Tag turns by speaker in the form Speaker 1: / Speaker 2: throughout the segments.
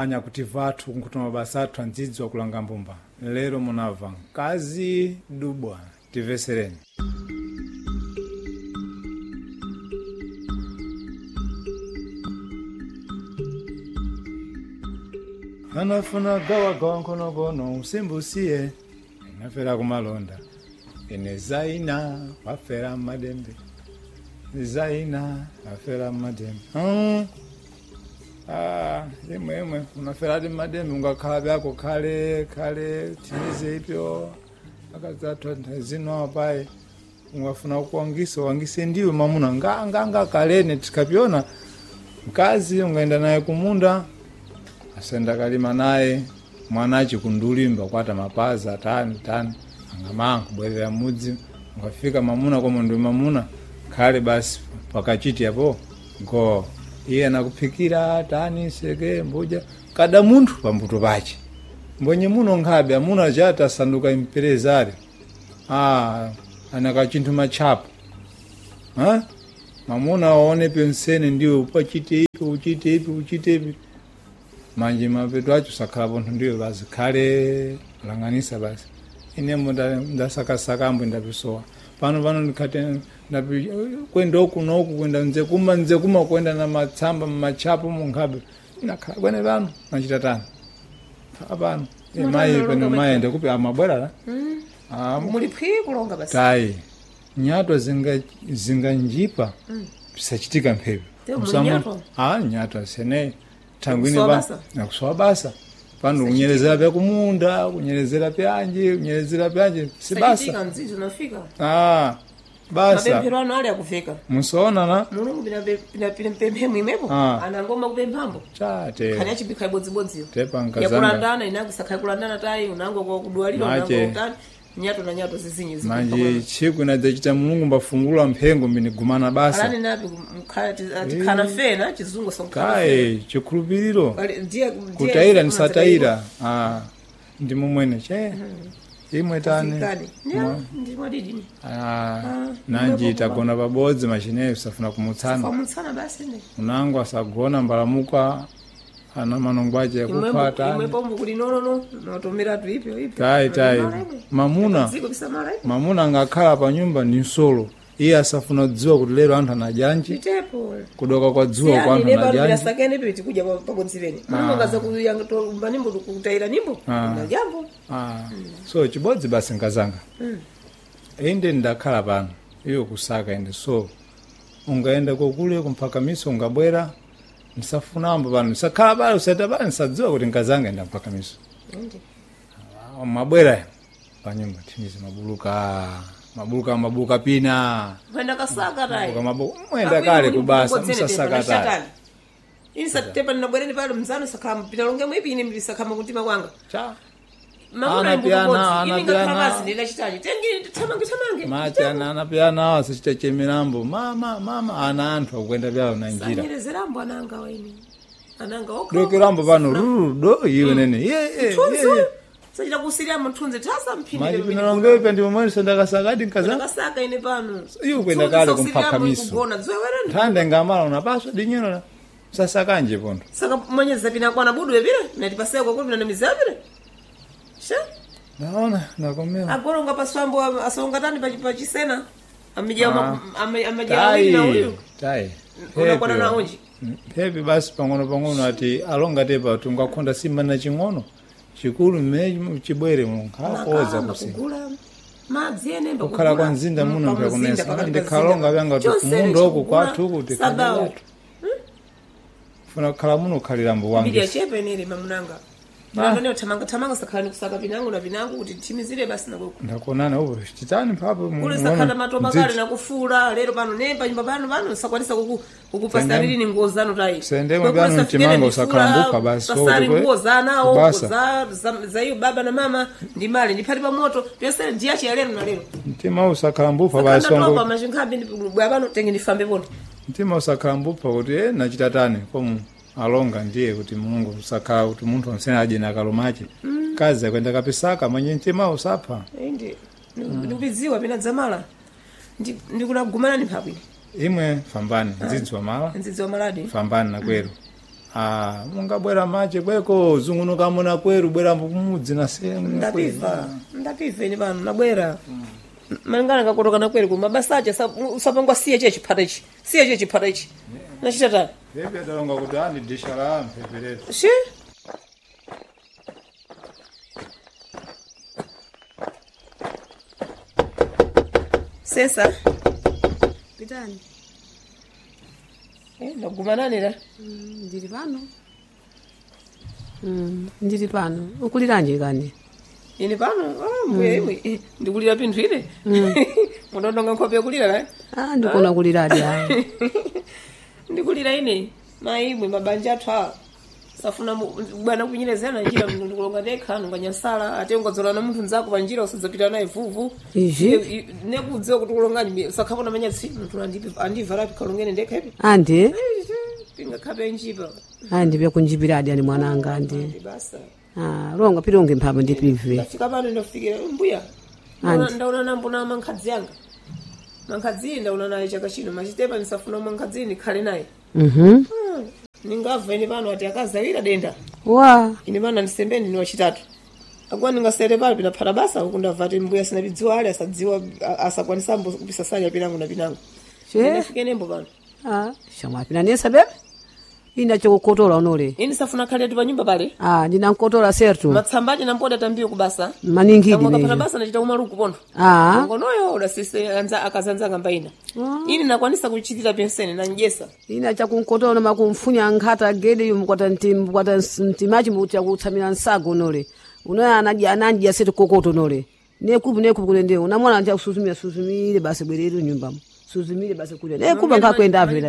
Speaker 1: Anyakutiva athu kunkuta mabasa athu andzidzwa kulanga mbumba. Lero munabva mkazi dubwa, tivesereni. Anafuna gawagawa nkhonokono usimbusiye inafera kumalonda ine zaina wafera madembe zaina wafera madembe. Ah, imwe imwe unaferadi madembe ungakhala byako khale khale timize ipyo akazathu zino apayi ungafuna kuwangisa wangise ndiwe mamuna nganganga kalene tikapyona mkazi ungaenda naye kumunda asenda kalima naye mwana achikundulimba kwata mapaza tani tani angamanga kubwerera mudzi ungafika mamuna koma ndi mamuna khale basi pakachiti apo go iye anakuphikira tani seke mbuja kada munthu pambuto pache mbonye muno nkhabe amuna chati asanduka imperezari ah anakachinthu machapo ha mamuna waone pensene ndiwe upachite ipi uchite ipi uchite ipi manje mapeto acho sakhala pontho ndiwe basi khale langanisa basi inembo ndasakasaka ambo ndapisowa pano pano ndikhate ndapi kwenda uku noku kwenda nzekuma nzekuma kwenda na matsamba mmachapo munkhabe nakhala kwene pano nachita tani pano mayi pano mayi ndikupi amabwera la. Ah,
Speaker 2: muli phwi kulonga basi
Speaker 1: tayi nyatwa zinganjipa pisachitika mphepo.
Speaker 2: Te muli nyatwa?
Speaker 1: Ah, nyatwa sene thangwini
Speaker 2: Kusowa
Speaker 1: pa
Speaker 2: basa?
Speaker 1: nakusowa basa pano kunyerezera pya kumunda kunyerezera pyanji kunyerezera pyanji si basa.
Speaker 2: Sachitika mzizi unafika
Speaker 1: Ah, basa
Speaker 2: mapemphero anu ali akuveka
Speaker 1: musoonana
Speaker 2: mulungu pinapemphemo imwepo
Speaker 1: Ah.
Speaker 2: anangoma kupemphambo
Speaker 1: chate
Speaker 2: khani achibikha ibodzibodziyo
Speaker 1: tepa nkazanga
Speaker 2: yakulandana inakusakha kulandana tayi unango kwa kudwalira
Speaker 1: Mache.
Speaker 2: unango kutani nyato na nyato zizinyi
Speaker 1: manje tsiku inadzachita mulungu mbafungula mphengo mbinigumana basa.
Speaker 2: alani napi tikhana fena chizungu sonkhana
Speaker 1: kaye chikhulupiriro
Speaker 2: ndiye
Speaker 1: kutayira nisatayira. Ah, ndi mumwene che imwe tani.
Speaker 2: ndi mwadidini.
Speaker 1: Ah, nanji tagona pabodzi machineyo safuna kumutsana.
Speaker 2: Famutsana basi ne.
Speaker 1: Unango asagona mbalamuka ana manongo ache yakupha tani.
Speaker 2: Imwepo mbukuti nonono natomera tu ipyo ipyo.
Speaker 1: Tayi tayi mamuna
Speaker 2: Dziko bisamala ipyo.
Speaker 1: mamuna angakhala pa nyumba ndi nsolo iye asafuna kudziwa kuti lero anthu anajanji
Speaker 2: Itepo.
Speaker 1: kudoka kwa dzuwa kwa anthu anajanji.
Speaker 2: Sakene pili tikuja pakonziveni manongaza kuyanga nimbo kutayira nimbo
Speaker 1: Ah.
Speaker 2: na jambo.
Speaker 1: Ah, so chibodzi basi nkazanga inde ndakhala pano iyo kusaka inde so ungaenda kokule kumphakamiso ungabwera msafunambo pano msakhala pale usata pale nsadziwa kuti nkazanga enda mphakamiso.
Speaker 2: Inde.
Speaker 1: Ah, mabwera panyumba timizi mabuluka mabuluka mabuluka pina
Speaker 2: Mwenda kasaka tayi.
Speaker 1: Mabuluka, mabuluka mwenda kale kubasa msasaka tayi.
Speaker 2: Ini tepa ninabwereni pale mzano sakama pinalonge mwipi ini mlisakama kuntima kwanga.
Speaker 1: Cha
Speaker 2: Mamuna
Speaker 1: Ana
Speaker 2: mbuku
Speaker 1: piana,
Speaker 2: bodzi,
Speaker 1: ana
Speaker 2: ini ngakhala
Speaker 1: piana.
Speaker 2: basi ndinachitachi. Tengi thamange thamange.
Speaker 1: machi ana anapiyana awo asichita chemirambo mama mama ana anthu akukwenda byawo na njira.
Speaker 2: Sanyerezerambo ananga waini. Ananga okha.
Speaker 1: Dokerambo pano ruru do iwe nene ye ye
Speaker 2: Mthunzi
Speaker 1: ye.
Speaker 2: uyu. Sachita kusiriya mthunzi tasa mphindire.
Speaker 1: Maji pinalongepe ndi momwe sandakasakadi nkazanga.
Speaker 2: Ndakasaka ine pano.
Speaker 1: Iwe kwenda kale kumphakamiso.
Speaker 2: Kugona dziwe wereni.
Speaker 1: Nthanda ngamala unapaswa dinyero la sasakanje pontho.
Speaker 2: Saka manyeza pina kwana budu wepire natipaseko kwa pina namizapire. Sha
Speaker 1: Naona nakomera.
Speaker 2: agoronga paswambo asongatani pachisena amija
Speaker 1: Ah.
Speaker 2: amija awiri na uyu.
Speaker 1: Tayi.
Speaker 2: Unakwana na unji.
Speaker 1: Pepi basi pang'ono pang'ono ati alonga tepa tungakhonda simba na ching'ono chikulu mmene chibwere munkhakoza
Speaker 2: Nakamba
Speaker 1: kusi.
Speaker 2: kugula madzi ene mba
Speaker 1: Kukhala
Speaker 2: kugula.
Speaker 1: kwa mzinda muno
Speaker 2: Pa mzinda,
Speaker 1: mpyakunesa.
Speaker 2: pakati pa
Speaker 1: Ndikhalonga
Speaker 2: mzinda.
Speaker 1: vyanga kuti
Speaker 2: Chonse
Speaker 1: kumunda uku
Speaker 2: chikugula
Speaker 1: kwathu uku
Speaker 2: sabawo.
Speaker 1: tikhaliratu. Funa kukhala muno kukhalira
Speaker 2: Mbiri
Speaker 1: wange.
Speaker 2: yachepa inere mamunanga. Ndone thamanga thamanga sakhala nikusaka pinangu na pinangu kuti thimizire basi nakuku.
Speaker 1: Ndakuonana upo chitani mphapo
Speaker 2: Kule sakhala matopa kale nakufula lero pano ne panyumba pano pano sakwanisa kukupasariri ni nguo zanu tayi.
Speaker 1: Sendemo byanu mchimango usakhambuka basi,
Speaker 2: Pasari
Speaker 1: wokuti
Speaker 2: nguo zanawo
Speaker 1: kubasa.
Speaker 2: za iyo baba na mama ndi mali ndiphati pa moto pyosere ndiyachi ya lero na lero.
Speaker 1: Mtima usakhalambupa basi
Speaker 2: Sakanda topa
Speaker 1: wangu.
Speaker 2: mashinkhambi ndi bwa pano tenge ndifambe pono.
Speaker 1: Mtima usakhalambupa kuti nachita tani komu alonga ndiye kuti mulungu usakhala kuti munthu onsene adye nakalomache. Kazi akwenda kapisaka mwenye mtima usapha.
Speaker 2: Indi ndikupidziwa pina dzamala. Ndikunagumana ni mphabwino.
Speaker 1: Imwe fambani ndzidziwa mala
Speaker 2: Ndzidziwa maladi.
Speaker 1: fambani nakwero. Ah, mungabwera mache kweko zungunuka muna kweru bwera kumudzi na sehemu
Speaker 2: Ndapiva, ndapiva ine pano nabwera. Malingana kakotoka nakweri ku mabasa ache usapangwa siye che chiphata ichi. Siye che chiphata ichi. Nachita tani.
Speaker 1: Pepe atalonga kuti andi disha la mpeperetu.
Speaker 2: Shi? Sesa.
Speaker 3: Pitani.
Speaker 2: Eh, ndaguma nani la?
Speaker 3: Ndili pano. Ndili pano. Ukuliranje kani?
Speaker 2: Ine pano, ah, mbuya imwe. Eh, ndikulira pinthu ine. Mundondonga nkhope yokulira la.
Speaker 3: Ah, ndikuona kuliradi ayi.
Speaker 2: Ndikulira ine. Mayi imwe mabanja athu awa. Safuna bwana kunyerezana njira ndikulonga ndekha nunganyansala ate ungadzolana munthu nzako pa njira usadzapita naye vuvu.
Speaker 3: Izvi?
Speaker 2: Nekudziwa kuti kulongani usakhapona manyatsi munthu andivharapi kalongene ndekha ipi.
Speaker 3: Andi?
Speaker 2: Pingakhape njipa.
Speaker 3: Andi byakunjipiradi ani mwananga andi.
Speaker 2: Ndibasa.
Speaker 3: Ah, longa pilonge mphambo ndipive.
Speaker 2: Ndafika pano ndafikira mbuya.
Speaker 3: Andi.
Speaker 2: Ndaona nambona mankhadzi anga. Mankhadzi ndaona naye chaka chino machitepa ndisafuna mankhadzi ndikhale naye.
Speaker 3: Mhm.
Speaker 2: Ningabva ine pano ati akazawira denda.
Speaker 3: Wa.
Speaker 2: Ine pano andisembeni ni wachitatu. Akuwa ningasere pano pinaphata basa uku ndabva ati mbuya sinapidziwa ali asadziwa asakwanisa kupisasanya pinango na pinango.
Speaker 3: Che?
Speaker 2: Ndinafike nembo pano.
Speaker 3: Ah, shamwa pinanesa bebe. Ina chokukotola unole.
Speaker 2: Ine safuna khale ati panyumba pale.
Speaker 3: Ah, ndinankotola sertu.
Speaker 2: Matsamba ache nampoda tambiyo kubasa.
Speaker 3: Maningidi
Speaker 2: Kamwe akapata
Speaker 3: nejo.
Speaker 2: basa nachita umaluku pontho.
Speaker 3: Ah.
Speaker 2: Ngonoyo udasise anza akazanzanga mbaina. Ini nakwanisa kuchitira penseni nanjesa.
Speaker 3: Ina chakunkotola makumfunya nkhata gede yu mukwata ntim mukwata ntimachi mucha kutsamira nsago unole. Unoya anadya anadya setu kokoto unole. Nekupu nekupu kule ndio unamwana nja kusuzumira suzumire basi bwereru nyumbamo. Suzumire basi kule. Nekupa nkakwenda avela.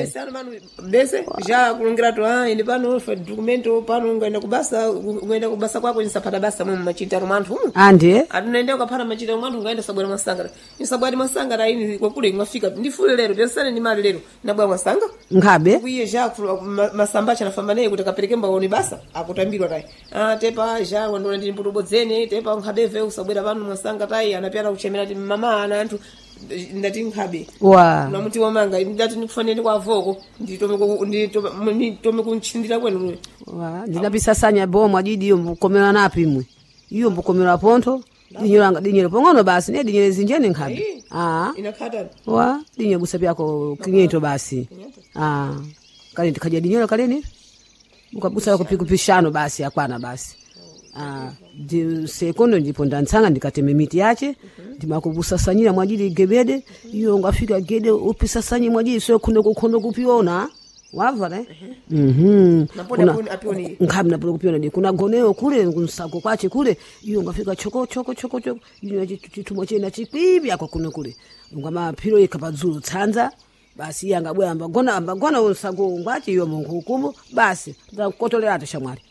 Speaker 2: Bese ja kulongira to ah ine pano fa documento pano ungaenda kubasa ungaenda kubasa kwako nisapata basa mu machitaro mwanthu umu.
Speaker 3: Andi
Speaker 2: Atunaenda ukapata machitaro mwanthu ungaenda sabwera mwasanga. Nisabwera mwasanga ini kwakule mwafika ndifule lero pensani ni mali lero nabwa mwasanga.
Speaker 3: nkhabe.
Speaker 2: Kuiye ja masamba chanafamba naye kuti akapereke mbaoni basa akutambirwa tayi. Ah tepa ja wandona ndini mputobodzene tepa nkhabeve usabwera pano mwasanga tayi anapyana kuchemera ti mama ana anthu ndati nkhabe.
Speaker 3: Wa.
Speaker 2: Namuti wamanga ndati ndikufanire kwa avoko nditome kuntchindira kwenu.
Speaker 3: Wa ndinapisasanya bomo adidi iyo mbukomera napi imwe. Iyo mbukomera pontho. Dinyero dinyero pong'ono basi ne dinyero zinjeni nkhabe. Ah.
Speaker 2: Inakhatani.
Speaker 3: Wa dinye busa byako kinyento basi. Ah. Kale ndikaja dinyero kaleni. Mukabusa kupikupishano basi akwana basi. Ah, di sekondo ndipo ndantsanga ndikateme miti yache ndimakubusasanyira mwajili gebede iyo ngafika gede upisasanye mwajili so kuno kuno kupiona wava ne mhm
Speaker 2: Napona apioni.
Speaker 3: nkhabi napola kupiona di kuna goneo kule kunsago kwache kule iyo ngafika choko choko choko choko iyo chithumwa chena chikwibi ako kuno kule ngamaphiro ikapadzulu tsanza basi iye angabwera ambagona ambagona unsago ngwache iyo munkukumu basi ndakotolerato shamwali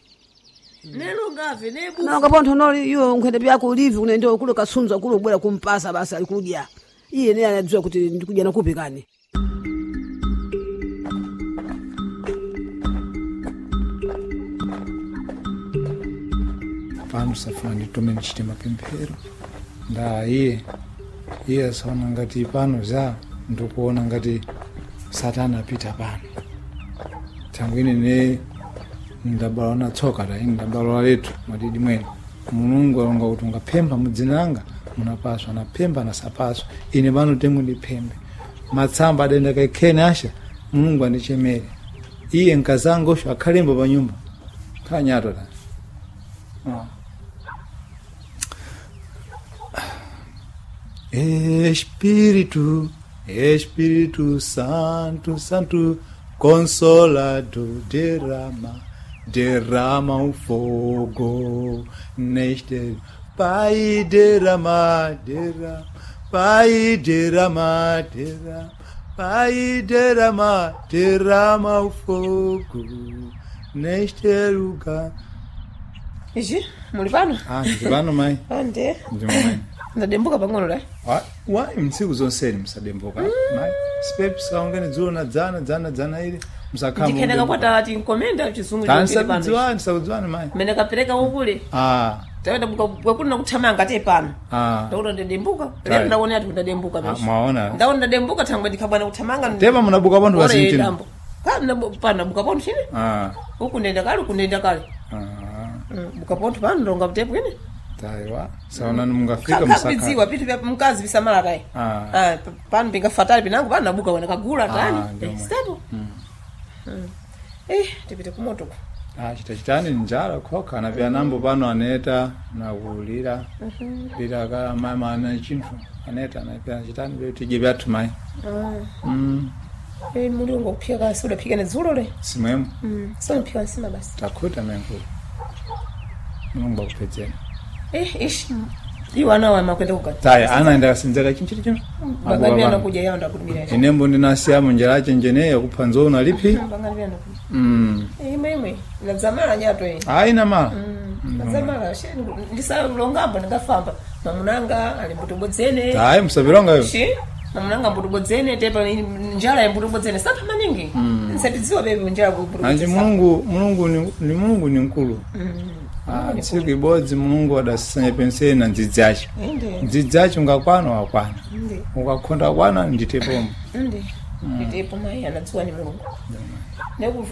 Speaker 2: Nelo ngave nebu.
Speaker 3: nanga pontho noli iyo nkhwende byako ulivi kunende kule kasunza kule ubwera kumpasa basi alikudya iye naye anadziwa kuti ndikudya nakupi kani
Speaker 1: Pano safuna nditume ndichite mapemphero. Nda iye iye asaona ngati pano za ndikuona ngati satana apita pano. Tangu ine ne ndabala na tsoka ta ine ndabala letu mwadidi mwene. Mulungu alonga kuti ungaphemba mudzinanga munapaswa naphemba nasapaswa ine pano temu ndiphembe matsamba adenda kaikhene asha mulungu andichemere iye nkazanga osho akhalembo pa nyumba khanyato ta Ah. Espírito, Espírito Santo, Santo, Consolador, derrama, derrama o fogo neste. Pai, derrama, derrama, Pai, derrama, derrama, Pai, derrama, derrama o fogo neste lugar.
Speaker 2: Ichi muli pano?
Speaker 1: Ah, ndi pano mai.
Speaker 2: Ande.
Speaker 1: Ndi mai.
Speaker 2: Ndadembuka pang'ono la.
Speaker 1: Wa mtsiku zonseni musadembuka mai sipepi sikaungene dzulo na dzana dzana dzana ili musakhala
Speaker 2: Ndikheneka kwata tinkomenda chizungu chokele pano.
Speaker 1: sakudziwani sakudziwani mai
Speaker 2: Mene kapereka ukule.
Speaker 1: ah
Speaker 2: Tawenda bwakuna kuthamanga te pano.
Speaker 1: ah
Speaker 2: Ndaona ndadembuka. Lero ndaona ati ndadembuka
Speaker 1: Ah,
Speaker 2: mesho.
Speaker 1: mwaona
Speaker 2: Ndaona ndadembuka thangwe ndikhabwana kuthamanga.
Speaker 1: tepa munabuka panthu
Speaker 2: Ora
Speaker 1: pasinchino
Speaker 2: yedambo. Kana pana bukapontho chine
Speaker 1: Ah.
Speaker 2: uku ndenda kale uku ndenda kale.
Speaker 1: Ah.
Speaker 2: Bukapontho pano ndonga mtepo ine.
Speaker 1: Taiwa. Saonani mungafika musaka.
Speaker 2: Kabidziwa pitu vya mkazi visamala kai.
Speaker 1: Ah.
Speaker 2: Ah, pano pingafatali pinango pano nabuka wena kagula tani.
Speaker 1: Ah, ndio mwe.
Speaker 2: Stepo. Tipite kumoto ku.
Speaker 1: Ah, chita chitani njala khoka na vyanambo pano aneta nakulira. Lira ka mama ana chinthu aneta na vyana chitani vyo tije vyathu mai.
Speaker 2: Mulungu kuphika kasi udaphika ne dzulo le.
Speaker 1: Simwemo.
Speaker 2: So mphika nsima basi.
Speaker 1: Takhuta menkulu. Mulungu akupedzera.
Speaker 2: Ishi. Iwo ana wa makwenda kugana.
Speaker 1: Taya anaenda kasinzeka chinchiri chino.
Speaker 2: Bangani anakuja yao ndakutumira.
Speaker 1: Inembo ndinasiya munjira chenjeneyo kupha nzona lipi.
Speaker 2: Bangani anakuja. Imwe imwe. Nadzamala nyato iyi.
Speaker 1: Aina mala.
Speaker 2: Nadzamala she ndisalongambo ndingafamba. Mamunanga ali mbutobodzene.
Speaker 1: Tayi musavilonga yo.
Speaker 2: Shi mamunanga mbutobodzene tepa njala ya mbutobodzene sapha maningi. Nsatidziwa bebe njala
Speaker 1: Anji
Speaker 2: mbutobodzene.
Speaker 1: Mulungu Mulungu ni Mulungu ni mkulu. Ah, tsiku ibodzi Mulungu adasisanya penseli na ndzidzi acho.
Speaker 2: Inde.
Speaker 1: Ndzidzi acho ungakwana wakwana.
Speaker 2: Inde.
Speaker 1: Ukakhonda kwana nditepomo.
Speaker 2: Inde. Nditepo mai anadziwa ni Mulungu.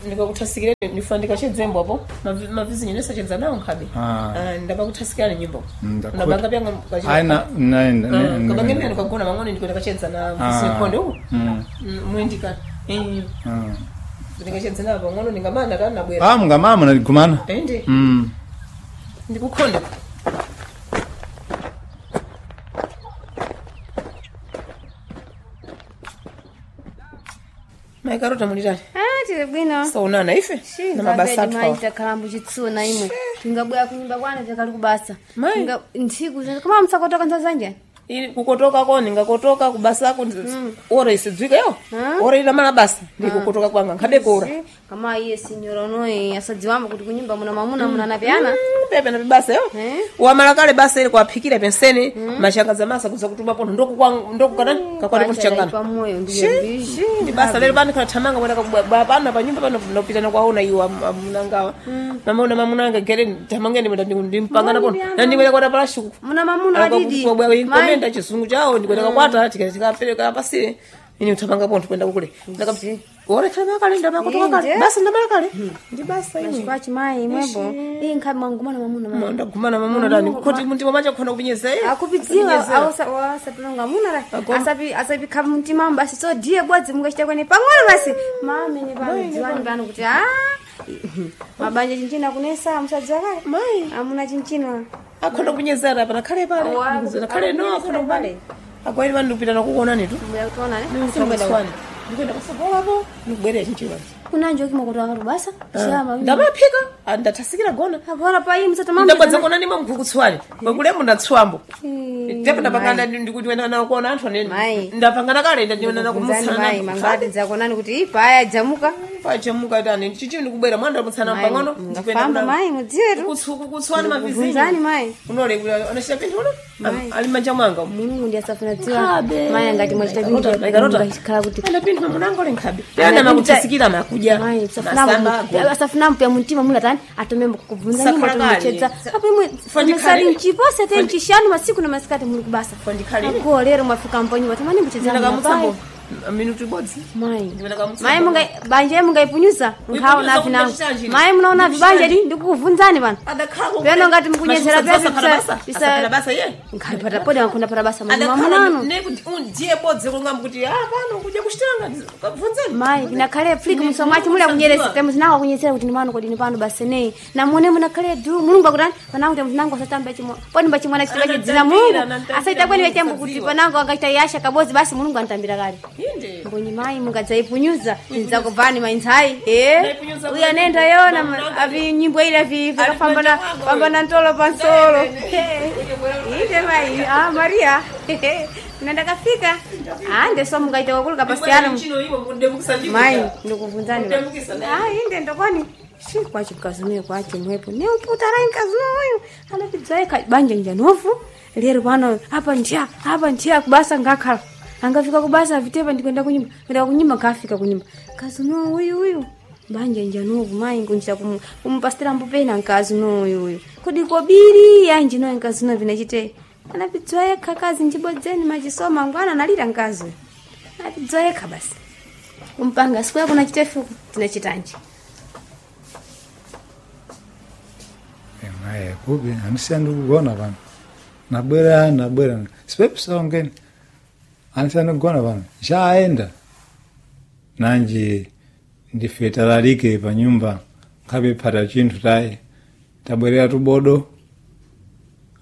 Speaker 2: Ndikakuthasikira ndifa ndikachedzembo apo mavizi nyene sachedza nawo nkhabe.
Speaker 1: Ah.
Speaker 2: Ndapakuthasikira ni nyimbo.
Speaker 1: Ndakhuta.
Speaker 2: Ndabanga pyanga
Speaker 1: Aina naenda.
Speaker 2: Kabange myani kagona mang'ono ndiko ndakachedza na mvisi nkhonde uku. Muindika. Ndikachedza nawo pang'ono ndingamana tani nabwera.
Speaker 1: Ah, mungamama naligumana.
Speaker 2: Ende. Ndikukhonde. Maikarota mulitani.
Speaker 4: Ah, tili bwino.
Speaker 2: Saonana ife na mabasa athu awa.
Speaker 4: Maita kalambu chitsuna imwe. Tingabwera kunyumba kwana takali kubasa.
Speaker 2: Mai.
Speaker 4: Tinga ntsiku koma msakotoka nzazanja.
Speaker 2: Ili kukotoka ko ningakotoka kubasako ora isidzwika yo ora ilamala basa ndikukotoka kwanga nkhabe kora
Speaker 4: Kama iye sinyora unoyi asadziwamba kuti kunyumba muna mamuna muna napyana.
Speaker 2: Pepe na basa yo wamala kale basa ili kwaphikira penseni mashanga za masa kuza kutuma pontho ndokukatani kakwati kuchangana
Speaker 4: Pamoyo ndiye mbishi.
Speaker 2: ndi basa lero pano khala kwenda kabwa pano pa nyumba pano ndopitana kwaona iwo amunangawa mamaona mamunanga gere thamangeni mwenda ndimpangana pontho nandikwenda kwata palashuku
Speaker 4: Muna mamuna adidi.
Speaker 2: inkomenda chizungu chawo ndikwenda kakwata tikapereka pasire ini uthamanga pontho kwenda kukule orekhala makale ndamakotoka kale basa ndamala kale ndi basa imwe
Speaker 4: Kwachi mai imwepo. Iyi nkhabe mwangumana mamuna mai.
Speaker 2: ndagumana mamuna tani kuti mtima macha khona kupinyeza iye
Speaker 4: Akupidziwa awasapilonga muna la. Asapi asapi khabe mtima basi so diye bwadzi mungachita kwene pang'ono basi. Mame ne pano dziwani pano kuti ah mabanja chinchina kunesa musadziwa kale.
Speaker 2: Mai.
Speaker 4: Amuna chinchina.
Speaker 2: akhona kupinyezera pana khale pale khale no akhona kupale akwaili pano ndikupitana kukuonani tu
Speaker 4: Mbuya kutiona ne.
Speaker 2: ndikutswani ndikuenda kusogolapo ndikubwerera chinchiwani
Speaker 4: Kunanje okima kuti akati basa. Shama.
Speaker 2: ndamaphika ndathasikira gona
Speaker 4: Agora pa iyi msatamamba.
Speaker 2: ndabwadza kuona ndimwe mkhukutswani kwakulemo ndatswambo tepo ndapangana ndikuti wena nakuona anthu anene
Speaker 4: Mai.
Speaker 2: ndapangana kale ndaniona
Speaker 4: Mzani mai
Speaker 2: kumutsana
Speaker 4: mangati dzakonani kuti paya dzamuka.
Speaker 2: pachemuka tani chichi ndikubwera mwana ndamutsana pang'ono
Speaker 4: Ngafamba mai mudziwetu.
Speaker 2: kutsutswani mavizinyo
Speaker 4: Bvunzani mai.
Speaker 2: unole anachita pinthu uno ali manja mwanga umu.
Speaker 4: Mulungu ndi asafuna dziwa. Mai angati mwachita
Speaker 2: Maikarota.
Speaker 4: ngachikhala kuti
Speaker 2: Ana pinthu mamunanga uli nkhabe ana makuthasikira makuja
Speaker 4: Mai
Speaker 2: masamba agona.
Speaker 4: asafuna mpya muntima mulatani atomembo kukubvunza nyimbo
Speaker 2: Sakhala kale.
Speaker 4: atomuchedza apo imwe
Speaker 2: Fandikhalire.
Speaker 4: sali mchipose te mchishanu masiku na masikati muli kubasa
Speaker 2: Fandikhalire.
Speaker 4: ako lero mwafika mponyumba tamani mchedza
Speaker 2: Ndakamutsamba minutu ibodzi
Speaker 4: mai
Speaker 2: Ndikamutsamba.
Speaker 4: mai munga banja mungaipunyusa nkhawo
Speaker 2: Kuipunyusa
Speaker 4: navi nangu
Speaker 2: kumachita
Speaker 4: mai munaona vibanja di ndikukuvunzani pano Pano ngati mukunyezera pepe
Speaker 2: bisa basa ye
Speaker 4: nkhalipata podi ankhona pata basa
Speaker 2: adakhala
Speaker 4: mamunano
Speaker 2: nekuti ndiye bodzi kulungamba kuti ah pano kudya kuchitanga kabvunzeni
Speaker 4: mai nakhale fliki muso mwachi muli akunyeresa temu zinawo akunyesera kuti ndimano kodi ndipano basa nei namone munakhale du mulungu akutani panango temu zinango asatamba chimwe poni mbachimwana chitaba chidzina mulungu asaita kweni wechembo kuti panango angaita yasha kabozi basi mulungu antambira kale
Speaker 2: inde
Speaker 4: mbonyi mai mungadzaipunyuza tidzakubvani mainzai eh
Speaker 2: Ndaipunyuza
Speaker 4: uyu anenda yona avi nyimbo ile avi vakafambana pambana ntolo pansolo inde mai ah maria nandakafika ah ndeso mungaita wakuluka pasiyana
Speaker 2: chino iwo kudemukisa ndiko
Speaker 4: mai ndikubvunzani
Speaker 2: Kudemukisa naye.
Speaker 4: ah inde ndokoni shi kwachi mkazi kwachi mwepo neuputarai mkazi uyu anapidzaika banja njanovu lero pano apa ndiya apa ndiya kubasa ngakhala angafika kubasa avitepa ndikuenda kunyumba kuenda kunyumba ngafika kunyumba mkazi uno uyu uyu banja njanovu mai ngunjira kumupasitira mbupena mkazi uno uyu uyu kodi kobiri yanji noyo mkazi uno vinachite anapidzwa yekha kazi njibodzeni machisoma ngwana analira mkazi uyu anapidzwa yekha basi Kumpanga siku yako nachitefuku tinachitanji.
Speaker 1: Maye kubi anisiya ndikugona pano. Nabwera nabwera. Sipepisa ongeni. Anisiya ndikugona pano. Nchaenda. Nanji ndife talalike pa nyumba nkhabe phata chinthu tayi. Tabwerera tubodo.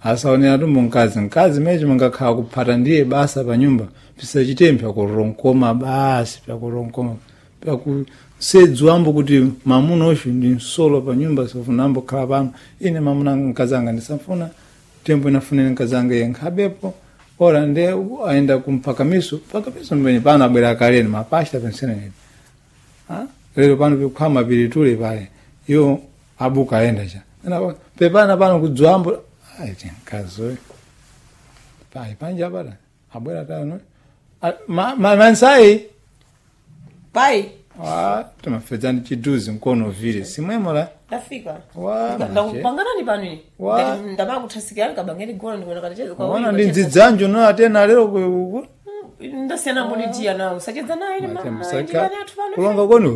Speaker 1: Asaonera tumbo mkazi. Mkazi mechi mungakhala kuphata ndiye basa pa nyumba. Pisachite pyakuronkoma basi pyakuronkoma. Pyakusedzu kuti mamuna uchu ndi msolo pa nyumba sofuna ambo khala pano. Ine mamuna mkazanga ndisafuna. Tembo inafunira mkazanga iye nkhabepo. Ora nde aenda kumpakamiso. Mpakamiso mbeni pano abwera kaleni mapashta pensene. Ha? Lero pano pikukhama pilitule pale. Iwo abuka aenda cha. Pepana pano kudzwambo. Ai tinkazoe. Pai panja para. Abwera tano. Mansai.
Speaker 2: Pai
Speaker 1: Ah, timafedzani chiduzi mkono vile. Simwemo la.
Speaker 2: ndafika.
Speaker 1: Wa,
Speaker 2: Ndakupanganani pano ine.
Speaker 1: Wa.
Speaker 2: Ndamakuthasikia kabangeni gona ndikuona katacheza kwa
Speaker 1: Ona ndi ndzidzanjo no atena lero ku
Speaker 2: Ndasiyana mbonitia nawo usachedza naye ine mama ndiyani athu pano.
Speaker 1: Kulonga kwenu.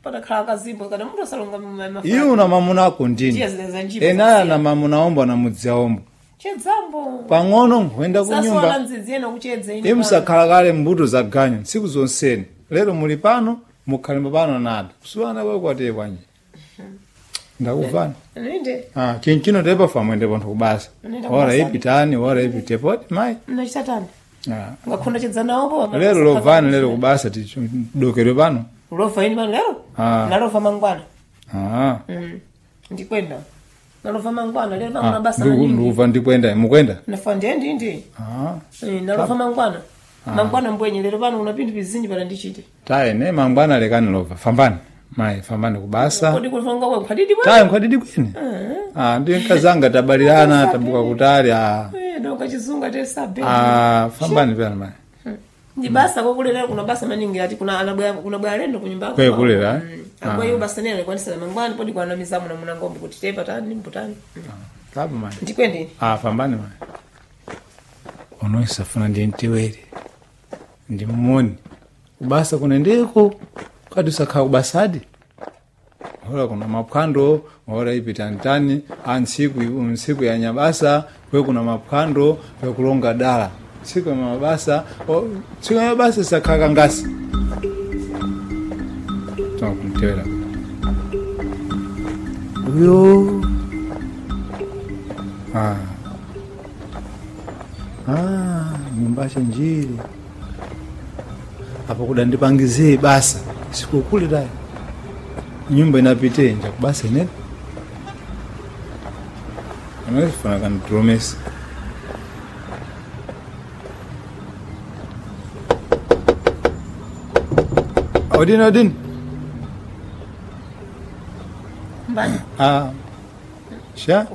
Speaker 2: Patakhala kazimbo kana munthu asalonga mafa.
Speaker 1: Iye una mamuna ako ndini.
Speaker 2: Ndiye zileza njipo
Speaker 1: Enala
Speaker 2: zasiya.
Speaker 1: na mamuna ombo na mudzi ombo.
Speaker 2: Chedzambo.
Speaker 1: Pang'ono nkhuyenda ku
Speaker 2: Saswala
Speaker 1: nyumba.
Speaker 2: mdzidzi ena kuchedza ine.
Speaker 1: Imusakhala kale mbuto za ganyu ntsiku zonseni. Lero muli pano mukhalemba pano nada. Kusuwana kwe kwateye kwanje. Ndakuvana.
Speaker 2: Ninde.
Speaker 1: Ah, chinchino tepa famwende pontho kubasa.
Speaker 2: Nenda
Speaker 1: Ora
Speaker 2: kubasa.
Speaker 1: ipitani, ora ipitepoti mai.
Speaker 2: Nachita
Speaker 1: Ah.
Speaker 2: Ngakhona chedza nawo po.
Speaker 1: Lero lovani lero kubasa tidokerwe pano.
Speaker 2: Lova ine pano lero?
Speaker 1: Ah.
Speaker 2: Nalova mangwana.
Speaker 1: Ah.
Speaker 2: Ndikwenda. Nalova mangwana lero pano
Speaker 1: Ah,
Speaker 2: basa maningi.
Speaker 1: ndikuva ndikwenda mukwenda.
Speaker 2: Nafa ndiye ndi ndi.
Speaker 1: Ah.
Speaker 2: Nalova mangwana. Mangwana mbwenye lero pano una pinthu pizinji pala ndichite.
Speaker 1: Tayi ne mangwana lekani lova. Fambani. Mai fambani kubasa.
Speaker 2: Kodi kulonga kwa khadidi bwana.
Speaker 1: Tayi nkhwadidi kwene. Ah, ndi nkazanga tabalirana tabuka kutali ah.
Speaker 2: Eh, donka chizunga tesabe.
Speaker 1: Ah, fambani pano mai.
Speaker 2: Ndi basa kokulera kuna basa maningi ati kuna anabwa kuna bwa lendo kunyumba.
Speaker 1: Kwe kulera, eh?
Speaker 2: Akwa iyo basa nene kwanisa mangwana podi kwa namizamu na munangombe kuti tepa tani mbutani.
Speaker 1: Tabu mai.
Speaker 2: Ndikwende.
Speaker 1: Ah, fambani mai. Unoisafuna ndi ntiwere. Ndi mmoni. Kubasa kuna ndeko. Kadi usakhala kubasadi. Ora kuna maphwando, ora ipitantani, a ntsiku ya nyabasa, kwe kuna maphwando, kwe kulonga dala. Ntsiku ya mabasa, ntsiku ya mabasa sakhala kangasi. Toma kumtewera.
Speaker 3: Uyo
Speaker 1: Ah. Ah, nyumba njiri. Apo kudandipangizie basa. Sikukule tayi. Nyumba inapite nja kubasa inene. Anafuna kandipromesa. Odini odini.
Speaker 2: Mbani.
Speaker 1: Ah. Sha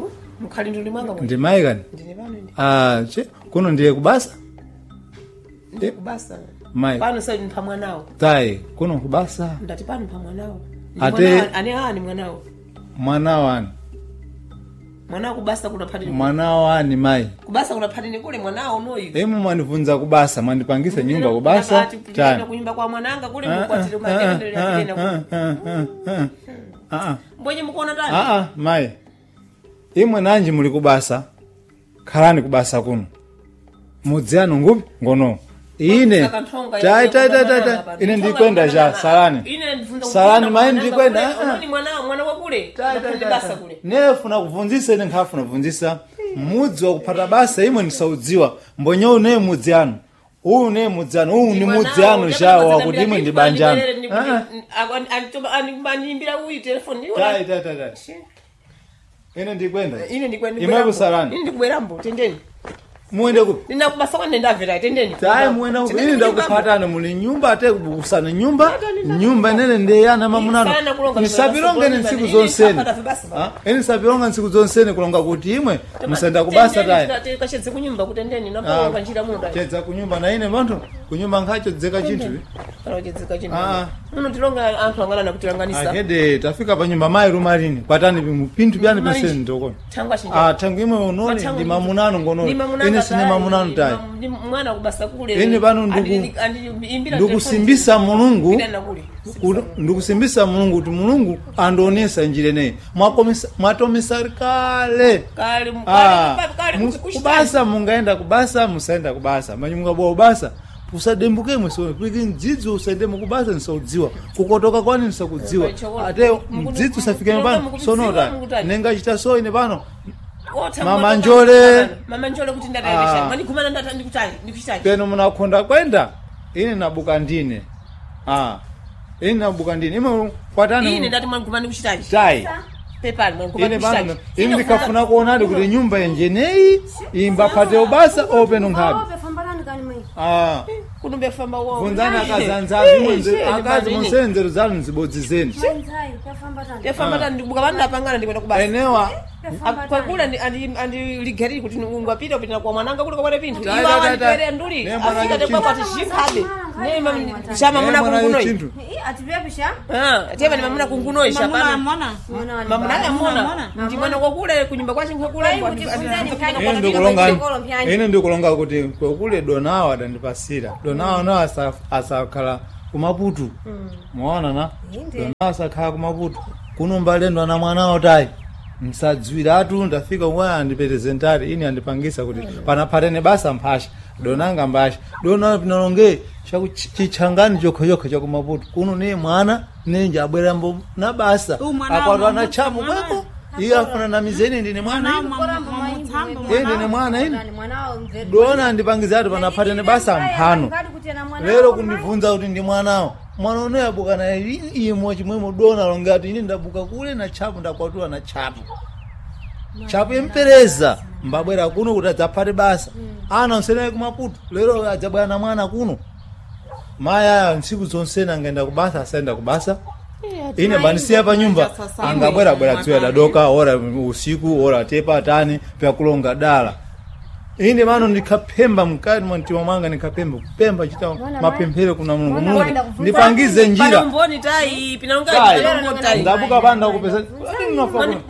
Speaker 2: Mkhali nduli mwanga mwe.
Speaker 1: ndi mai kani?
Speaker 2: Ndine pano ine.
Speaker 1: Ah, che kuno ndiye kubasa?
Speaker 2: Ndi kubasa.
Speaker 1: Mai.
Speaker 2: Pano sasa ndi pamwanawo.
Speaker 1: Tayi kuno kubasa.
Speaker 2: Ndati pano pamwanawo.
Speaker 1: Ate-
Speaker 2: ane ani mwanawo.
Speaker 1: Mwana wani.
Speaker 2: Mwanawo kubasa kuna phatini.
Speaker 1: Mwana wani mai.
Speaker 2: Kubasa kuna phatini kule mwanawo noyu.
Speaker 1: Emu mwanivunza kubasa mwandipangisa nyumba kubasa
Speaker 2: tani
Speaker 1: tani.
Speaker 2: kunyumba kwa mwananga kule
Speaker 1: Ah,
Speaker 2: mukwatire
Speaker 1: ah,
Speaker 2: matendelele
Speaker 1: ah,
Speaker 2: atena
Speaker 1: ah, ah, ah, ah, ah, ah.
Speaker 2: mbwenye mukuona tani
Speaker 1: Ah, ah, mai imwe nanji muli kubasa khalani kubasa kuno mudzi anu ngupi ngono ine
Speaker 2: Saka nthonga
Speaker 1: tai
Speaker 2: ine
Speaker 1: tai tai tai
Speaker 2: kubanana
Speaker 1: tai.
Speaker 2: pano.
Speaker 1: Ine
Speaker 2: Nthonga
Speaker 1: ndikwenda ja
Speaker 2: kubanana.
Speaker 1: salani
Speaker 2: Ine ndivunza
Speaker 1: salani
Speaker 2: kupanda
Speaker 1: mai
Speaker 2: mwananga
Speaker 1: ndikwenda
Speaker 2: kule.
Speaker 1: ah, ah.
Speaker 2: Unoni mwana mwana wa kule
Speaker 1: Tai, tai,
Speaker 2: Ndaphandi
Speaker 1: tai,
Speaker 2: basa
Speaker 1: tai.
Speaker 2: kule
Speaker 1: Nefuna kubvunzisa ine nkhafuna kubvunzisa mudzi wakuphata basa imwe ndisaudziwa mbonye une mudzi anu uyu ne mudzi anu uyu ni mudzi anu jawo wakuti imwe ndi banja anu Ah, ah.
Speaker 2: Animbira uyu telefoni
Speaker 1: Tai, tai, tai, tai. Ine ndikwenda
Speaker 2: ine ndikwenda
Speaker 1: Imwe kusalani.
Speaker 2: ine ndikubwerambo tendeni
Speaker 1: Muende kupi
Speaker 2: ndinakubasa kwa ndendamvera tendeni
Speaker 1: tayi muenda kupi ine ndakuphatani muli nyumba ate kubukusana nyumba
Speaker 2: Tata,
Speaker 1: nyumba inene ndeyana mamunano
Speaker 2: Isana kulonga
Speaker 1: nisapilonga ine ntsiku
Speaker 2: Ine
Speaker 1: zonseni
Speaker 2: nisapata basa.
Speaker 1: Ah, ine nisapilonga ntsiku zonseni kulonga kuti imwe musenda kubasa tayi
Speaker 2: kachedze kunyumba kutendeni
Speaker 1: Ah,
Speaker 2: napolonga njira muno tayi
Speaker 1: chedza kunyumba na ine manthu Kunyumba nkhacho dzeka chinthu.
Speaker 2: Panochedzeka chinthu.
Speaker 1: Ah.
Speaker 2: Muno tilonga anthu angana kutilanganisa.
Speaker 1: Akede tafika pa nyumba mayi rumalini. Kwatani pinthu byani penseni ndokona.
Speaker 2: Thangwa chinja.
Speaker 1: Ah, thangu imwe unone ndi mamunano ngono. Ine sine mamunano tayi.
Speaker 2: Ndi mwana kubasa kule.
Speaker 1: Ine pano ndikusimbisa Mulungu.
Speaker 2: Ine kule.
Speaker 1: Ndikusimbisa Mulungu kuti Mulungu andionesa njira ineyi. Mwatomesa kale.
Speaker 2: Kale
Speaker 1: Ah,
Speaker 2: kale
Speaker 1: kubasa mungaenda kubasa musaenda kubasa manyi mungabowa kubasa usadembuke mwese piki mdzidzi usaendemo kubasa nisaudziwa kukotoka kwani nisakudziwa ate mdzidzi usafikeme pano sonota nengachita so ine pano Mama Njole.
Speaker 2: Mama Njole kuti ndatayesha.
Speaker 1: Ah.
Speaker 2: Mwanigumana ndata ndikuchani ndikuchani.
Speaker 1: peno munakhonda kwenda ine nabuka ndine ah ine nabuka ndine ime kwatani
Speaker 2: Ine ndati mwanigumana ndikuchitani.
Speaker 1: tai
Speaker 2: Pepani mwanigumana
Speaker 1: ine pano
Speaker 2: ndikuchitani.
Speaker 1: ine ndikafuna kuonadi kuti nyumba yenjeneyi imbapate ubasa openo nkhabe
Speaker 4: Fambarani kani mai.
Speaker 1: ah
Speaker 2: Kunumbe famba wo.
Speaker 1: Bvunzani akazanzazi akazi musenzero zanu nzibodzi zenu
Speaker 4: Mai tafambatani.
Speaker 2: Tefamba tani ndibuka vanhu napangana ndikuenda kubasa.
Speaker 1: enewa
Speaker 2: Kwakula andiligariri kuti ungapita upita kwa mwananga kuli kwapata pinthu.
Speaker 1: Tai,
Speaker 2: Iwo
Speaker 1: tai, tai.
Speaker 2: awandipere nduli.
Speaker 1: Ne mwana
Speaker 2: Afika
Speaker 1: chinthu.
Speaker 2: tekwapa tishikhabe. Ne chama muna
Speaker 1: Eh, mwana
Speaker 2: kungunoi.
Speaker 1: chinthu.
Speaker 4: Atipepisha.
Speaker 2: Ah, tiyeva ni mamuna kungunoi
Speaker 5: Mamuna
Speaker 2: shapano.
Speaker 5: amona.
Speaker 2: Mamuna amona.
Speaker 5: Amona.
Speaker 2: Ndi mwana kwakule kunyumba kwache nkwakule.
Speaker 4: Ai, kuti funzani mkhani.
Speaker 1: Ine ndikulonga ine ndikulonga kuti kwekule donawo adandipasira donawo nawo asakhala kumaputu mwaona na donawo asakhala kumaputu kuno mbalendo ana mwanawo tayi msadziwiratu ndafika umwe andiperesentari ine andipangisa kuti panaphatene basa mphasha donanga mbasha dona pinalonge chakuchichangani chokhachokha chakumaputu kuno niye mwana nenje abwerambo na basa
Speaker 5: Uyu mwana
Speaker 1: akwatu
Speaker 5: wa
Speaker 1: ana chamu
Speaker 5: mwana.
Speaker 1: kweko iye afuna na mizeni ndine mwana ine. Ine ndine mwana ine dona andipangizatu panaphatene basa mphano lero kundibvunza kuti ndi mwanawo mwana uno yabuka naye imwe chimwemo dona longati ine ndabuka kule na tchapo ndakwatula na tchapo tchapo impereza mbabwera kuno kuti adzaphate basa ana onsenaye kumaputu lero adzabwera na mwana kuno mayi aya ntsiku zonsena angaenda kubasa asaenda kubasa ine bandisiya pa nyumba angabwerabwera dziwa dadoka ora usiku ora tepa tani pyakulonga dala ine mano ndikaphemba mkati mwa mtima mwanga ndikaphemba kupemba chita mapemphero kuna Mulungu
Speaker 4: Mwana
Speaker 1: Mulungu
Speaker 4: waenda kufunza.
Speaker 1: ndipangize njira
Speaker 2: Panomboni tai pinalonga
Speaker 1: Tai.
Speaker 2: pinalonga tai.
Speaker 1: ndabuka panda kupesa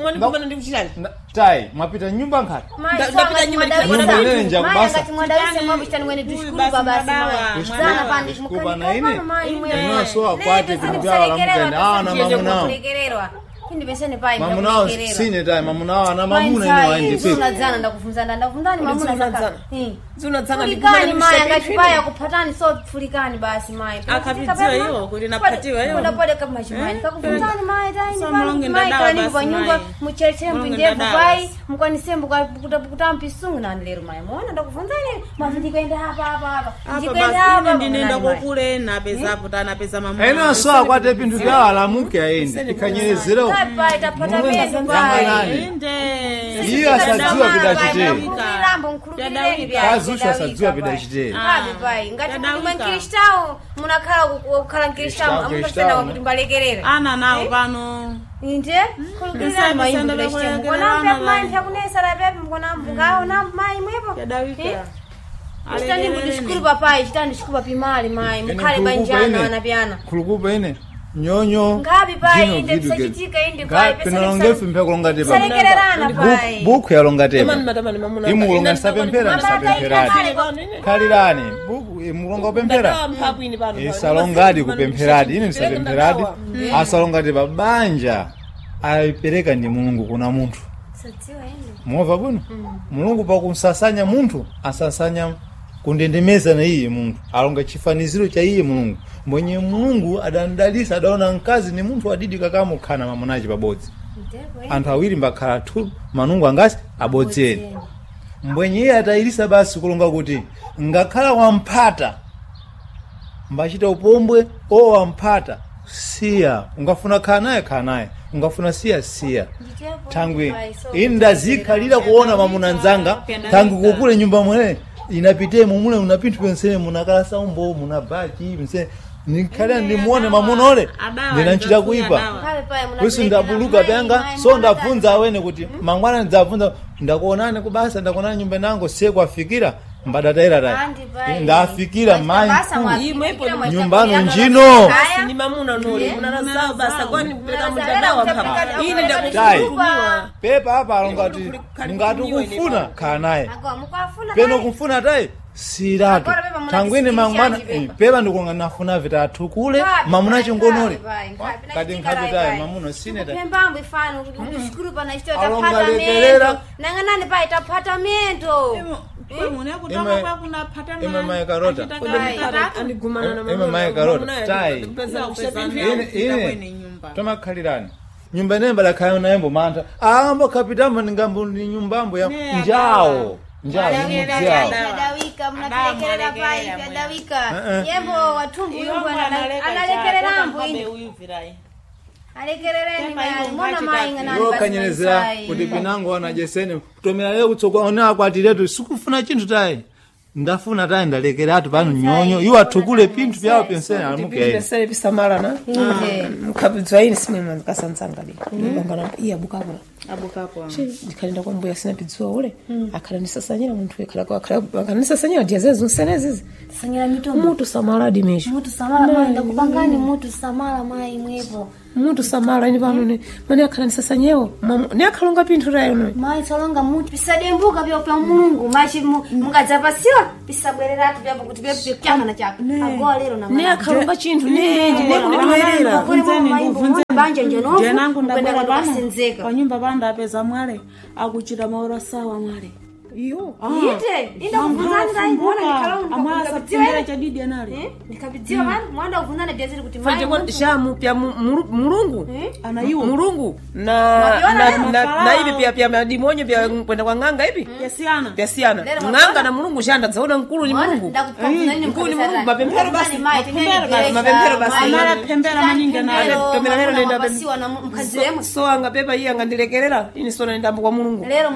Speaker 2: Mwanigumana ndikuchitani.
Speaker 1: tai mwapita nyumba nkhati
Speaker 2: Ndapita nyumba
Speaker 1: Nyumba ineyo kubasa.
Speaker 4: Mwadawisa mwabishani mwene tushukuru
Speaker 5: basi
Speaker 4: baba
Speaker 5: mwadawa,
Speaker 4: Zana pandi
Speaker 1: Tushukuru na ine.
Speaker 4: mukani
Speaker 1: Ine so akwate vintu vyawo lamukenda. Ah, na mamunao.
Speaker 4: Kulekererwa. Kindi pesene pai
Speaker 1: mamunawo sine tai mamunawo ana mamuna ine waendepeki
Speaker 4: Unadzana ndakufunzana ndakufunzani mamuna
Speaker 2: Unadzana.
Speaker 4: saka.
Speaker 2: Zinadzana
Speaker 4: Fulikani mai angachipaya kuphatani so fulikani basi mai.
Speaker 5: Akapidziwa iwo kuti naphatiwa iwo.
Speaker 4: Unapode kama chimani. Kakufunzani mai tai.
Speaker 5: So mulonge
Speaker 4: Mai
Speaker 5: ndadawa
Speaker 4: kani
Speaker 5: basi
Speaker 4: pa nyumba
Speaker 5: mai.
Speaker 4: mucheche
Speaker 5: Mulonge
Speaker 4: mpindevu
Speaker 5: ndadawa
Speaker 4: pai
Speaker 5: basi.
Speaker 4: mukwanise mbukutampisungu nani lero mai. Muona ndakufunzani mavindikaenda apa apa apa.
Speaker 5: Apa
Speaker 4: Ndikaenda
Speaker 5: basi
Speaker 4: apa.
Speaker 5: ine ndinenda
Speaker 4: munani mai.
Speaker 5: kokule napezapo tanapeza mamuna.
Speaker 1: ene so akwate pinthu vyawo alamuke aende ikanyerezerawo
Speaker 4: Tai pai tapata pedu pai.
Speaker 1: Yanganani.
Speaker 5: Inde.
Speaker 1: Iye asadziwa pidachiteri
Speaker 4: Mkhulukirambo mkhulukireni vya.
Speaker 1: Kazuchu asadziwa pidachiteri
Speaker 4: Ngabe pai ngati
Speaker 5: Tadawika.
Speaker 4: mwe mkristawo munakhala kukhala mkristawo
Speaker 1: Kristau,
Speaker 4: amutosena
Speaker 1: Kristau,
Speaker 4: kuti mbalekerera.
Speaker 5: Ana nawo pano.
Speaker 4: Inde khulukirira mai
Speaker 5: Nsanda
Speaker 4: mkristawo.
Speaker 5: vakulekerera
Speaker 4: Mukona
Speaker 5: ana
Speaker 4: mpe mai
Speaker 5: vai.
Speaker 4: mpyakunesera pepi mukona mbukawo mai mwepo.
Speaker 5: Tadawika.
Speaker 4: Chitani ndishukuru papai chitani ndishukuru papimali mai mukhale banjana ana pyana.
Speaker 1: khulukupa ine nyonyo
Speaker 4: Ngabi pai
Speaker 1: jino
Speaker 4: inde
Speaker 1: vidu gedi.
Speaker 4: pisachitika inde pai
Speaker 1: Pinalongefu mpyakulonga tepa
Speaker 4: Salekererana pai.
Speaker 1: buku yalonga tepa
Speaker 2: Tamani matamani mamuna.
Speaker 1: imulonga ndisapemphera ndisapempheradi khalirani buku imulonga kupemphera isalongadi kupempheradi ine ndisapempheradi asalongati pa banja ayipereka ndi Mulungu kuna munthu
Speaker 4: Sadziwa inde.
Speaker 1: muova bwino Mulungu pakumsasanya munthu asasanya kundendemeza na iye munthu alonga chifaniziro cha iye Mulungu mwenye Mulungu adandalisa adaona mkazi ni munthu adidi kakamukhana mamunachi pabodzi
Speaker 4: Ndipo inde.
Speaker 1: anthu awiri mbakhala thu manungu angasi abodzeni mbwenye iye atayirisa basi kulonga kuti ngakhala wamphata mbachita upombwe o wamphata siya ungafuna khala naye khala naye ungafuna siya siya thangwi ine ndazikhalira kuona mamuna nzanga thangwi kukule nyumba mwene inapite mumule muna pinthu pensene munakala saumbo muna bachi pensene nikhalira ndimuone mamuna ole ndinanchita kuipa kwisu ndabuluka pyanga so ndabvunza awene kuti mangwana ndidzabvunza ndakuonani kubasa ndakuonani nyumba nango siye kwafikira Mbadataira tayi.
Speaker 4: Andi pai.
Speaker 1: Ndafikira mai.
Speaker 4: Basa mwa-
Speaker 2: Imwepo
Speaker 4: fikira mwa-
Speaker 1: Nyumbano njino.
Speaker 4: Haya.
Speaker 2: Ni mamuna nole munanazao basa kwani kupeleka
Speaker 4: Munazalera
Speaker 2: mutandao
Speaker 4: kutapika-
Speaker 2: hapa ine
Speaker 1: Tai.
Speaker 2: ndakutumiwa
Speaker 1: Pepa apa alongati
Speaker 2: Kali
Speaker 1: ngati
Speaker 2: kutumiwa
Speaker 1: ukufuna khala naye.
Speaker 4: Agora mukafuna
Speaker 1: Peno
Speaker 4: naye.
Speaker 1: kumfuna tayi siratu.
Speaker 4: Agora pepa muna
Speaker 1: Tangwine mangwana
Speaker 4: chisikishanji pepa.
Speaker 1: pepa ndikunga nafuna vitatukule
Speaker 4: Nkhapi,
Speaker 1: mamuna
Speaker 4: nkhapi,
Speaker 1: chingonole.
Speaker 4: pai, nkhapi,
Speaker 1: Kati
Speaker 4: nachitika
Speaker 1: nkhapi
Speaker 4: lai,
Speaker 1: tayi
Speaker 4: pai.
Speaker 1: mamuna sine tayi.
Speaker 4: Kupembambo ifano kuti kushukuru pana chito
Speaker 1: Alonga
Speaker 4: tapata
Speaker 1: lekelera.
Speaker 4: mendo. Nang'anani pai tapata mendo.
Speaker 1: Imwe mai karota.
Speaker 2: andigumana
Speaker 1: Ime mai karota. Tai. Ine ine tomakhalirani. Nyumba ineyi mbadakhala naye mbomantha. Ambo kapitamo ningambo ni nyumbambo ya njawo. Njawo ni mudziawo.
Speaker 4: Pyadawika mnatulekerera pai pyadawika.
Speaker 1: Eh, eh.
Speaker 4: Yembo wathumbu yumbu analekererambo ine. Alekerereni mai mona mai ng'anani
Speaker 1: Iwo
Speaker 4: basi
Speaker 1: kanyerezera
Speaker 4: maisai.
Speaker 1: kuti pinango anajesene kutomera leo kutsogwa one akwatiretu sikufuna chinthu tayi. Ndafuna tayi ndalekeratu pano nyonyo iwo athukule pinthu pyawo pensene amuke.
Speaker 2: pesere pisamalana mkhapidzwa ine simwe mkasanzanga di ndipangana iye abukapo ndikhalenda kwa mbuya sina pidziwa ule akhala ndisasanyira munthu akhala ndisasanyira diyazezo nsenezizi
Speaker 4: Sanyira mitombo.
Speaker 2: mutu samaladi mesho
Speaker 4: Mutu samala mai ndakupangani mutu samala mai mwepo.
Speaker 2: mutu samala ine pano ne mane akhala ndisasanyewo ne akhalonga pinthu tayo no
Speaker 4: Mai salonga mutu pisadembuka pya pya Mulungu machi mungadzapasiwa pisabwereratu pyapo kuti pyapo pyakana chako. Agoa lero na
Speaker 2: ne akhalonga chinthu ne ne kunitoerera
Speaker 4: banja njenovu
Speaker 5: jenangu ndabwera pano
Speaker 4: kasenzeka.
Speaker 5: panyumba pano ndapeza mwale akuchita maora sawa mwale
Speaker 2: iyo
Speaker 4: Ite inda kuvunzani dai mbona ndikhala
Speaker 5: amwasapfundira chadidi anali
Speaker 4: ndikapidziwa vanhu mwanda kuvunzana dyaziri kuti mai
Speaker 2: fanje kwa shamu pya mulungu
Speaker 5: anaiwo
Speaker 2: mulungu na
Speaker 4: Mwaviona
Speaker 2: na
Speaker 4: lero?
Speaker 2: na, na ivi pya pya madimonyo pya kwenda kwa ng'anga ipi
Speaker 5: yasiyana
Speaker 2: pyasiyana
Speaker 4: Lero
Speaker 2: ng'anga na mulungu shanda dzaona mkulu ni mulungu Mkulu ni mulungu mapemphero basi Mapemphero basi.
Speaker 5: Amala maningi nayo.
Speaker 2: Tomera lero nenda pem-
Speaker 4: pasiwa na mukadzi wemwe
Speaker 2: so anga pepa iye angandilekerera ini sona ndambo kwa mulungu
Speaker 4: lero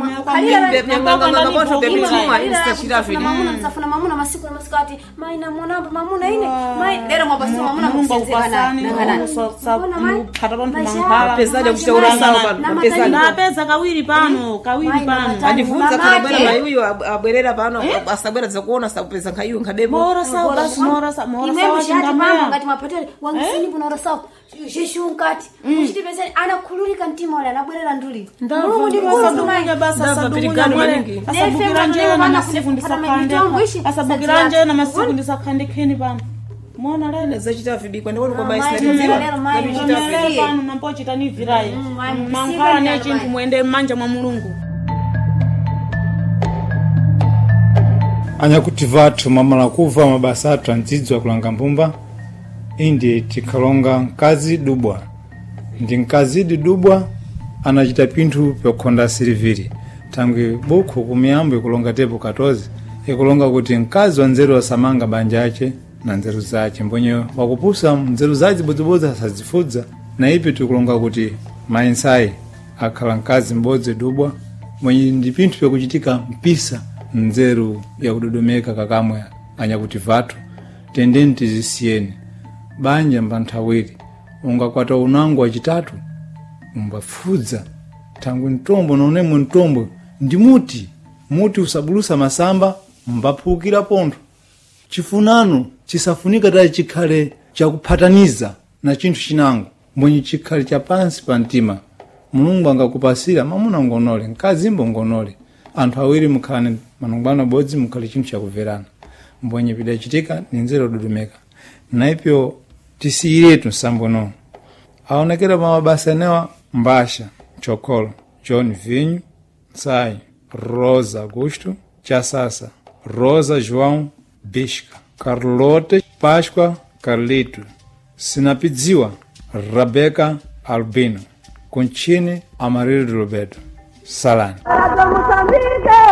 Speaker 2: mamuna
Speaker 4: msafuna mamuna masiku na masiku ati mai namonambo mamuna ine mai lero mwapasiwa mamuna
Speaker 5: Mulungu akupasani, Mulungu phata panthu mankhwala.
Speaker 2: Mapezadi akuchitaura sawa pano, mapezadi.
Speaker 5: ndapeza kawiri pano kawiri pano
Speaker 2: andivunza kana bwera mai uyo abwerera pano asabwera dzakuona sakupeza nkhaiyo nkhademo
Speaker 5: maora sawa basi maora sawa maora
Speaker 4: imwe
Speaker 5: sawa
Speaker 4: mushati pamwe
Speaker 5: chingamaya
Speaker 4: ngati mapatele wangisini kunaora sawa zheshunkati muchitipezeni anakhululika mtima wale anabwerera nduli mulungu ndi mkulu mai
Speaker 5: asadukunya basi
Speaker 2: Ndabva
Speaker 5: asadukunya
Speaker 2: pirigano
Speaker 5: mwale
Speaker 2: maningi.
Speaker 5: asabukira njena na masiku ndisakhande asabukira njena na masiku ndisakhande kheni pano mona lero
Speaker 2: zachita vibikwa ndikuti kwa
Speaker 4: Mai,
Speaker 2: maisinadziwa
Speaker 4: lero mai,
Speaker 5: Tomere pano nampochita ni virayi
Speaker 4: mai,
Speaker 5: mankhwala ne
Speaker 4: musike
Speaker 5: chinthu muende m'manja mwa mulungu
Speaker 1: Anyakuti vathu mamala kuva mabasa athu andzidzwa kulanga mbumba indi tikhalonga mkazi dubwa ndi mkazidi dubwa anachita pinthu pyokhonda siliviri thangwi bukhu kumiyambo ikulonga tepo 14 ikulonga kuti mkazi wa nzeru asamanga banja ace na nzeru zace mbonye wakupusa nzeru zace zibodzibodzi asazifudza na ipi tikulonga kuti mayi nsayi akhala mkazi m'bodzi dubwa mwenye ndi pinthu pyakuchitika mpisa nzeru yakudodomeka kakamwe anyakuti vathu tendeni tizisiyeni banja mbanthawiri ungakwata unango wachitatu umbafudza thangwi mtombo nonemwe mtombo ndi muti muti usabulusa masamba mbaphukira pontho chifunano chisafunika tayi chikhale chakuphataniza na chinthu chinango mbwenye chikhale cha pansi pa mtima mulungu angakupasira mamuna ngonole mkazi mbo ngonole anthu awiri mukhalane manongwana bodzi mukhale chinthu chakumverana mbwenye pidachitika ni nzeru yododomeka naipyo tisiyiretu nsambono aonekera pa mabasa enewa mbasha chokolo john vinho Tsai, Rosa Augusto, Chassassa, Rosa João Bisca, Carlota Páscoa Carlito, Sinapidziwa, Rebeca Albino, Contine Amarildo Roberto, Salani.
Speaker 6: Para Moçambique!